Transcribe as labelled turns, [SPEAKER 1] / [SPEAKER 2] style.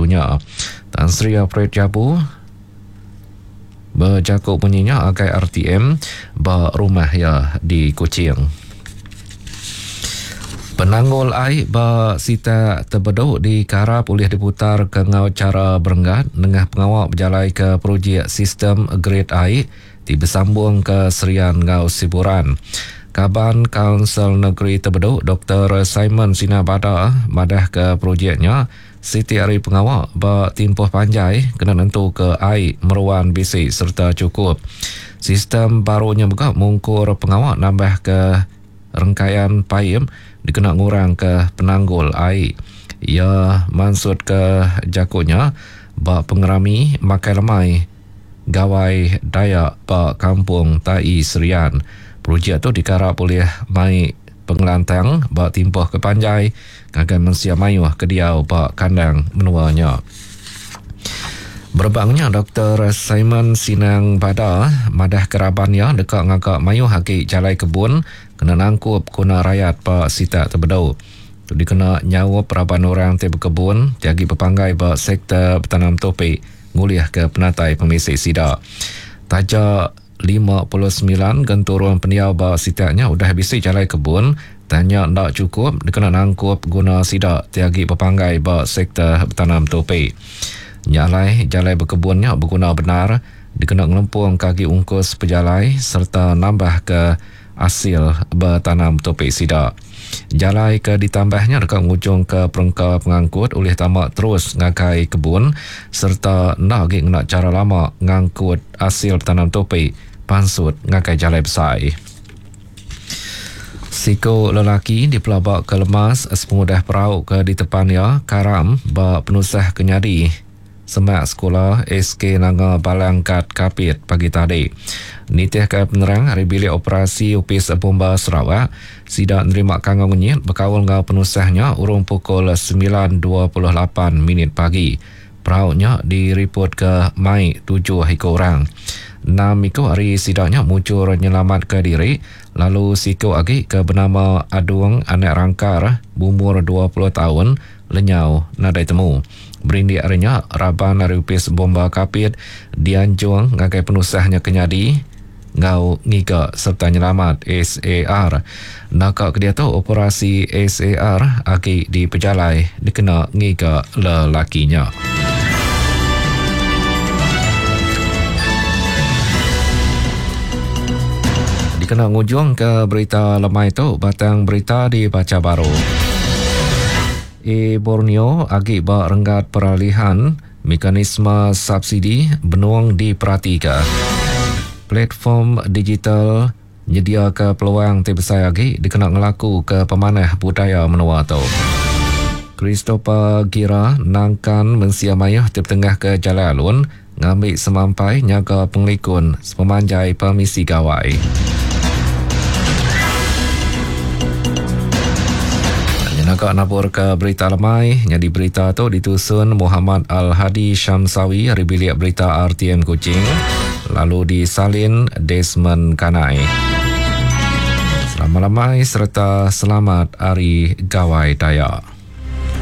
[SPEAKER 1] dunya. Tan Sri Alfred Jabu bejaku munyi nya agai RTM ba rumah iya di Kuching. Penanggul ai ba sitak Tebedu dikarap ulih diputarka enggau chara berenggat nengah pengawa bejalaika projek sistem grid ai ti besambung ke Serian enggau Siburan. Kaban Kaunsil Negeri Tebedu Doktor Simon Sina Bada madahka projek nya siti ari pengawa ba timpuh panjai kena nentuka ai meruan bisi sereta chukup. Sistem baru nya mega mungkur pengawa nambahka rengkayan paip dikena ngurangka penanggul ai. Iya mansutka jaku nya ba pengerami makai lemai Gawai Dayak ba Kampung Tai Serian. Projek tu dikarap ulih mai pengelantang ba timpuh ke panjai ngagai mensia mayuh ke diau ba kandang menua nya. Berebak nya, Doktor Simon Sinang Bada madahka raban iya deka ngaga mayuh agi jalai kebun kena nangkup guna rayat ba sitak Tebedu. Tu dikena nyaup raban orang ti bekebun ti agi bepanggai ba sektor betanam tupi ngulihka penatai pemisi sida. Taja 59 genturung pendiau ba sitak nya udah bisi jalai kebun, tang nya enda chukup dikena nangkup guna sida ti agi bepanggai ba sektor betanam tupi. Nya alai, jalai bekebun nya beguna bendar dikena ngelempungka agi ungkus pejalai sereta nambahka asil betanam tupi sida. Jalai ke ditambah nya deka ngujungka perengka pengangkut ulih tama terus ngagai kebun sereta enda agi ngena chara lama ngangkut asil betanam tupi pansut ngagai jalai besai. Siku lelaki dipelabaka lemas sepengudah perau ke ditepan iya karam ba penusah ke nyadi semak sekula SK Nanga Balang Gat Kapit pagi tadi. Nitihka penerang ari Bilik Operasi Opis Bomba Sarawak, sida nerima kangau ngenyit bekaul enggau penusah nya urung pukul 9.28 minit pagi. Perau nya diripotka mai tujuh iku orang. Enam iku ari sida nya mujur nyelamatka diri lalu siku agi ke benama Adung Anak Rangkar beumur 20 taun lenyau nadai temu. Berindik ari nya, raban ari Opis Bomba Kapit dianjung ngagai penusah nya ke nyadi enggau ngiga sereta nyelamat SAR. Naka ke diatu operasi SAR agi dipejalai dikena ngiga lelaki nya. Dikena ngujungka berita lemai tu, batang berita dibacha baru. E Borneo agi ba renggat peralihan, mekanisme subsidi benung diperatika. Platform digital nyediaka peluang ti besai agi dikena ngelakuka pemanah budaya menua tu. Christopher Gira nangkan mensia mayuh ti betengahka jalai alun ngambi semampai nyaga pengelikun sepemanjai pemisi gawai. Nyenaka naburka berita lemai, nyadi berita tu ditusun Muhammad Al-Hadi Syamsawi ari bilik berita RTM Kuching lalu disalin Desmond Kanai. Selamat lemai sereta selamat Hari Gawai Dayak.